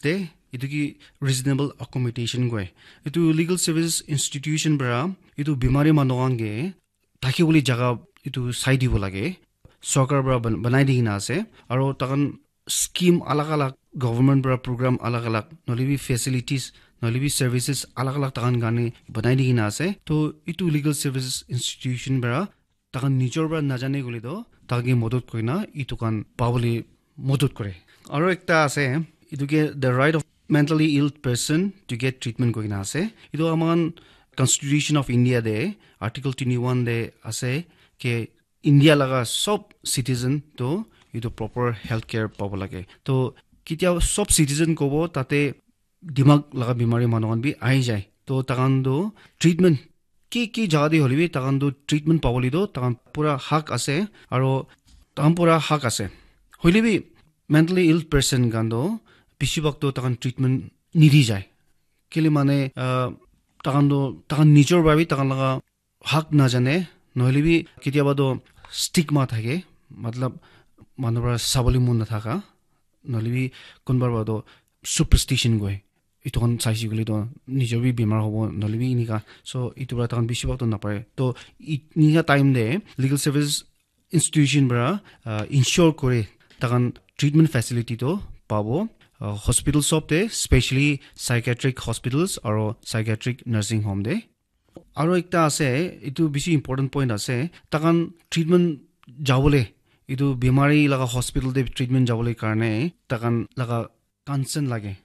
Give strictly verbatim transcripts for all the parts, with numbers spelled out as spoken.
te etu ki reasonable accommodation koi. Etu legal services institution para etu bimari manu khan ke thaki bole jaga etu sai dibo lage. Sorkar para ban- banai di kena ase. Aro takan scheme alag alag, government para program alag alag, nohole bi facilities, nohole bi services alag alag takan karne banai di kena ase. To etu legal services institution para takan nijor para najane koile to takan ke modot kori na etu khan pabole modot kore. Aro ekta ase, etu ke the right of mentally ill person to get treatment koi kena ase. Etu aman Constitution of India de article twenty one de ase ke India laga sob citizen to etu proper health care pabo lage. To ketia sob citizen kobo tate dimag laga bimari manu khan bi ahi jai. To takan to treatment ki ki jaga de hole bi takan to treatment pabole to takan pura hak ase aro takan pura hak ase. Hoile bi mentally ill person khan to bisi bhag to takan treatment nidi jai. Kile mane uh, takan to takan nijor para bi takan laga hak najane, nohole bi ketiaba to stigma thake, matlab manu para sabole mon nathaka, nohole bi kunba para to superstition koi. Etu khan saise koile to nijor bi bimar hobo, nohole bi enika. So etu para takan bisi bhag to napare. To enika time de legal service institution para uh, ensure kore takan treatment facility to pabo. Uh, hospital sob de, specially psychiatric hospitals aro psychiatric nursing home de. Aro ekta ase, etu bisi important point ase, takan treatment jabole, etu bimari laga hospital de treatment jabole karne takan laga consent lage,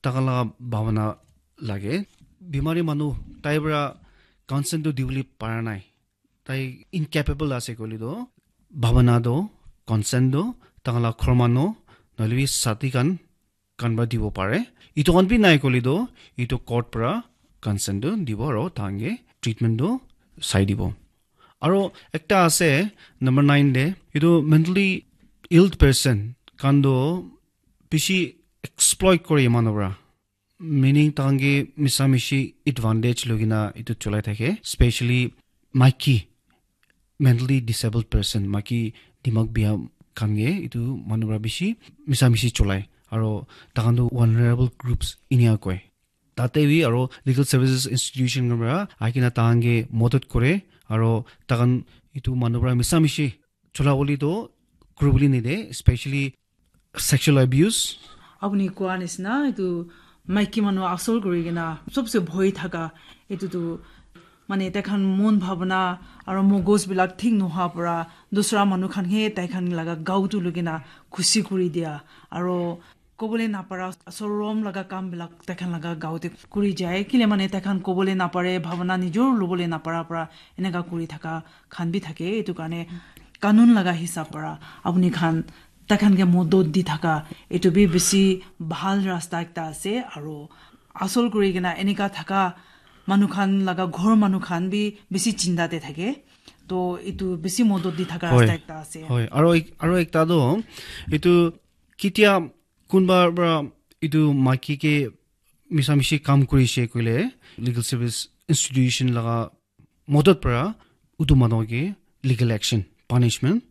takan laga bhabana lage. Bimari manu tai para consent to dibole para nai, tai incapable ase koile to bhabana to consent to takan laga ghor manu nohole bi sati khan khan para dibo pare. Etu khan bi nai koile to etu court para consent to dibo aro takan ke treatment to sai dibo. Aro ekta ase number nine de, etu mentally ill person khan to bisi exploit kore manu para, meaning takan ke misa mishi advantage loi kena etu cholai thake, specially maiki, mentally disabled person, maiki dimag bia khan ke etu manu para bisi misa mishi cholai aro takan to vulnerable groups inia koi. Tate bi aro legal services institution khan para ahi kena takan ke modot kore aro takan etu manu para misa mishi chola bole to kuri bole nide, specially sexual abuse. Apuni koa nisna etu maiki manu asol kuri kena sobse bhoi thaka etu tu mane tai khan mon bhabana aro mogos bilak thik noha para dusra manu khan he tai khan laga gau tu lugina khushi kuri dia aro kobole napara sorom laga kam bilak tai khan laga gau te kuri jai kile mane tai khan kobole napare bhabana nijor lobole napara para eneka kuri thaka khan bi thake. Etu karne kanun laga hisab para apuni khan tai khan ke modot di thaka etu bi bisi bhal rasta ekta ase aro asol kuri kena eneka thaka manu khan laga ghor manu khan bi bisi chinta te thake. To etu bisi modot di thaka Hoi. Rasta ekta ase. Hoi, aro ek- aro ekta to etu ketia kunba para etu maiki ke misa mishi kam kurise koile legal service institution laga modot para utu manu ke legal action, punishment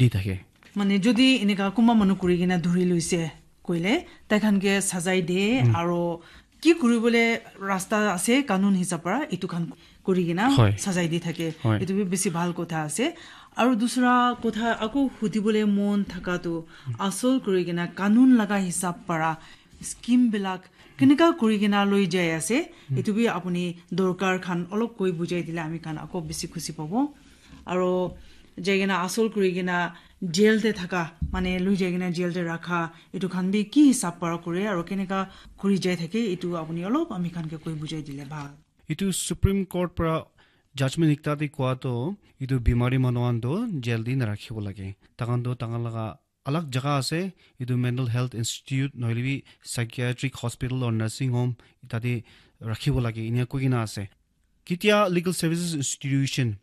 di thake. Mane jodi eneka kunba manu kuri kena dhuri loise koile tai khan ke sajai de aro ki kuri bole rasta ase kanun hisab para etu khan kuri kena Hoi. Sajai di thake. Hoi. Etu bi bisi bhal kotha ase. Aro dusra kotha ako hudi bole mon thaka tu asol kuri kena kanun laga hisab para scheme bilak keneka kuri kena loi jai ase, etu bi apuni dorkar khan olop koi bujai dile ami khan ako bisi khushi pabo. Aro jai kena asol kuri kena jail te thaka, mane loi jai kena jail te rakha, etu khan bi ki hisab para kore aro keneka kuri jai thake, etu apuni olop ami khan ke koi bujai dile bhal. Etu Supreme Court para judgment ekta te koa to etu bimari manu khan to jail te narakhibo lage. Takan to takan laga alag jaga ase, etu mental health institute nohole bi psychiatric hospital or nursing home tate rakhibo lage, enia koi kena ase. Ketia legal services institution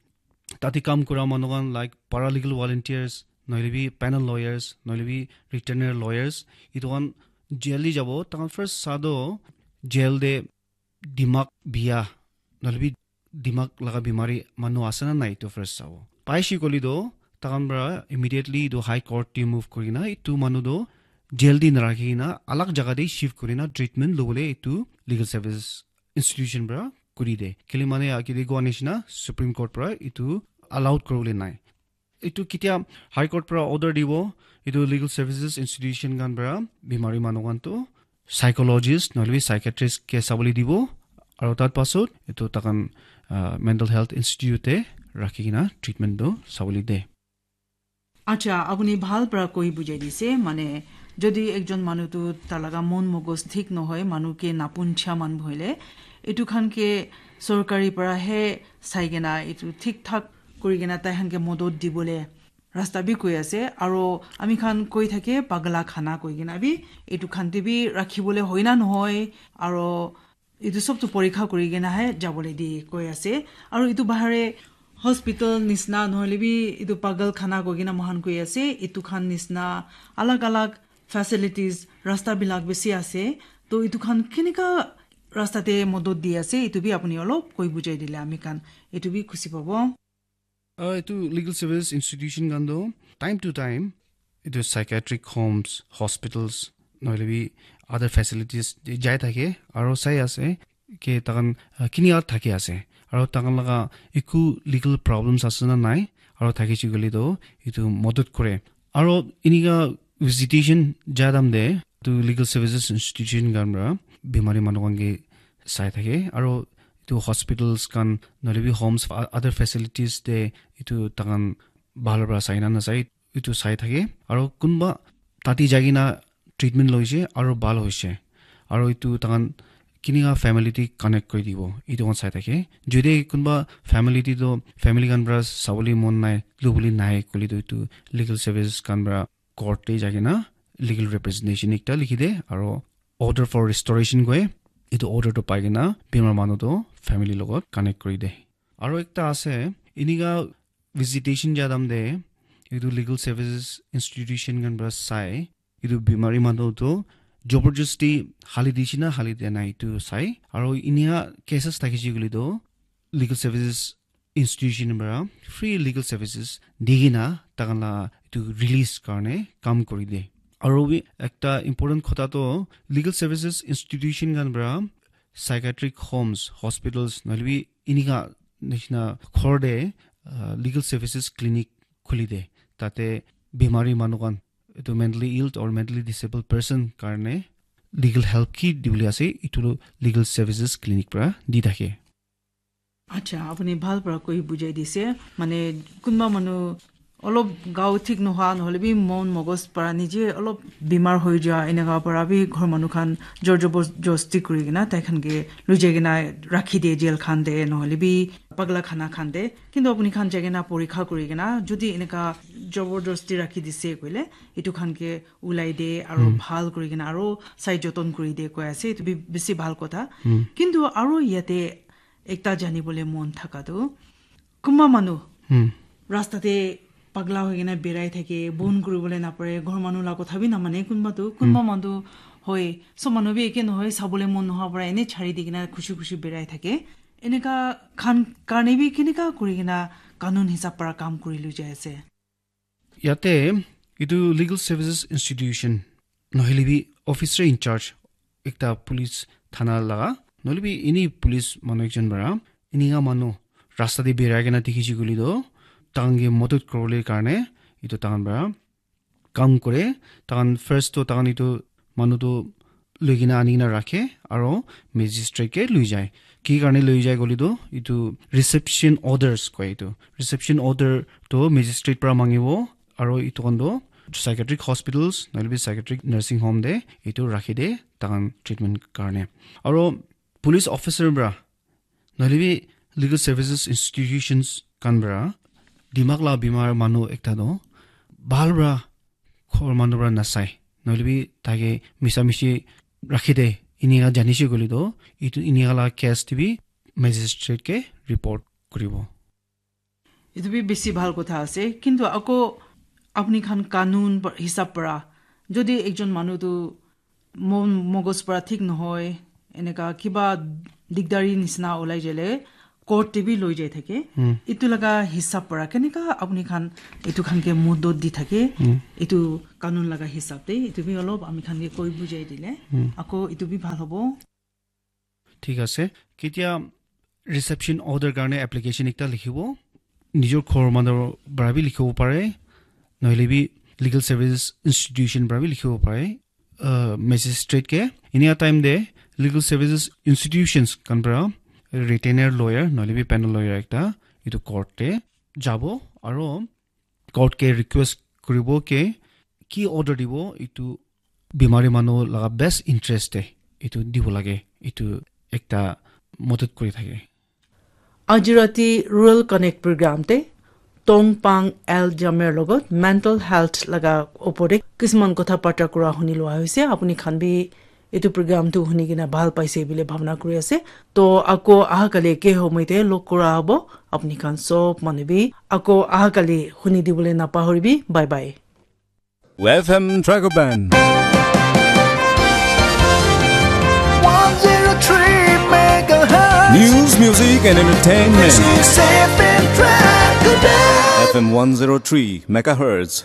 tate kam kura manu khan like paralegal volunteers, nohole bi panel lawyers, nohole bi retainer lawyers, etu khan jail te jabo, takan first sa to jail te dimag bia, nohole bi dimag laga bimari manu ase na nai, etu first sabo. Paise koile to, takan para immediately etu high court te move kuri kena, etu manu to jail te narakhi kena alag jaga te shift kuri na treatment lobole etu legal services institution para kuri de. Kile mane agete koa nishina Supreme Court para etu allowed kuribole nai. Etu ketia High Court para order dibo, etu legal services institution khan para bimari manu khan tu psychologist nohole bi psychiatrist ke sabole dibo, aru tar pasot etu takan, ah, mental health institute te rakhi kena treatment tu sabole de. Acha, apuni bhal para koi bujai dise, mane, jodi ekjon manu tu talaga mon mogos thik nohoi, manu ke napuncha man bhoile, etu khan ke sorkari para he sai kena, etu thik thak kuri kena tai khan ke modot dibole rasta bi koi ase, aro ami khan koi thake pagla khana koi kena bi, etu khan te bi rakhi bole hoi na nohoi, aro etu sob tu porikha kuri kena he jabole di koi ase. Aru etu bahar te hospital nisna nohole bi etu pagal khana koi kena moikhan koi ase. Etu khan nisna alag alag facilities rasta bilak bishi ase. To etu khan kenika rasta te modot di ase, etu bi apuni olop koi bujai dile ami khan etu bi khushi pabo. Ah, etu legal service institution khan toh time to time etu psychiatric homes, hospitals, nohole bi other facilities te jai thake, aro sai ase ke takan, ah, kini thaki ase, aro takan laga eku legal problems ase na nai, aro thakise koile toh etu modot kore. Aro enika visitation jadam te etu legal services institution khan para bimari manu khan ke sai thake, aro etu hospitals khan nohole bi homes, o-, other facilities te etu takan bhal para sai na nasai, etu sai thake. Aro kunba tate jai kena treatment loise aro bhal hoise, aro etu takan kinika family te connect kuri dibo, etu khan sai thake. Jodi kunba family te toh family khan para sabole mon nai, lobole nai koile toh etu legal services khan para court te jai kena legal representation ekta likhi de, aro order for restoration koi, etu order toh pai kena bimar manu toh family logot connect kuri de. Aro ekta ase, enika visitation jadam te etu legal services institution khan para sai, etu bimari manu toh joborjosti hali dise na hali dia nai etu sai, aro enika cases thakise koile toh legal services institution para free legal services di kena takan la etu release karne kam kuri de. Aro bi ekta important kotha toh legal services institution khan para psychiatric homes, hospitals, nohole bi enika nishina ghor te, ah, legal services clinic khuli de. Tate bimari manu khan, etu mentally ill or mentally disabled person karne legal help ki dibole ase, etu legal services clinic para di thake. Acha, apuni bhal para koi bujai dise. Mane, kunba manu olop gao thik nohoi, nohole bi mon mogos para nije olop bimar hoi ja, eneka para bi ghor manu khan jor joborjosti kuri kena tai khan ke loi jai kena rakhi de jail khan te, nohole bi pagla khana khan te. Kintu apuni khan jai kena porikha kuri kena, jodi eneka joborjosti rakhi dise koile, etu khan ke ulai de, aro bhal kuri kena, aro sai joton kuri de koi ase, etu bi bisi bhal kotha. Kintu aro yate ekta jani bole mon thaka tu, kunba manu rasta te pagla hoi kena berai thake, bon kuri bole napare, ghor manu la kotha bi namane, kunba tu, kunba manu hoi, sob manu bi eke nohoi, sabole mon nohoi para ene chari di kena khushi khushi berai thake. Eneka khan karne bi kenika kuri kena kanun hisab para kam kuri loi jai ase. Yate etu legal services institution nohole bi officer in charge ekta police thana laga, nohole bi any police manu ekjon para enika manu rasta te berai kena dikhise koile toh takan ke modot kuribole karne etu takan para kam kore. Takan first toh takan etu manu toh loi kena ani kena rakhe aro magistrate ke loi jai. Ki karne loi jai koile toh etu reception orders koi etu. Reception order toh magistrate para mangibo aro etu khan toh psychiatric hospitals nohole bi psychiatric nursing home te etu rakhi de takan treatment karne. Aro police officer para nohole bi legal services institutions khan para dimag la bimar manu ekta toh bhal para ghor manu para nasai, nohole bi tai ke misa misi rakhi de, enika janise koile toh etu enika la case te bi magistrate ke report kuribo. Etu bi bisi bhal kotha ase, kintu ako apni khan kanun pa-, hisab para jodi ekjon manu tu mon mogos para thik nohoi, eneka kiba digdari nisna olai jale, court te bi loi jai thake. Itu laga hisab para keneka apni khan itu khan ke mudot di thake. Itu kanun laga hisab te itu bi olop ami khan ke koi bujai dile ako itu bi bhal hobo. Thik ase. Ketia reception order karne application ekta likhibo. Nijor ghor manu para bi likhibo pare. Nohole bi legal services institution para bi likhibo pare. Uh, magistrate ke. Inia time de legal services institutions kan para retainer lawyer, nohole bi panel lawyer ekta itu court te jabo. Aro court ke request kuribo ke ki order dibo itu bimari manu laga best interest te itu dibo lage, itu ekta modot kuri thake. Aji rati Rural Connect program te Tongpang L Jamer logot mental health laga opor te kisman kotha bata kura huni lua hoise. Apuni khan bi etu program tu huni kena bhal paise bile bhabna kuri ase. To ako aha kali ke homoi te log kura hobo. Apuni khan sob manu bi ako aha kali huni dibole napahoribi. Bye bye. F M Dragon Band. One zero three megahertz. News, music, and entertainment. This is F M Dragon Band. F M one zero three megahertz.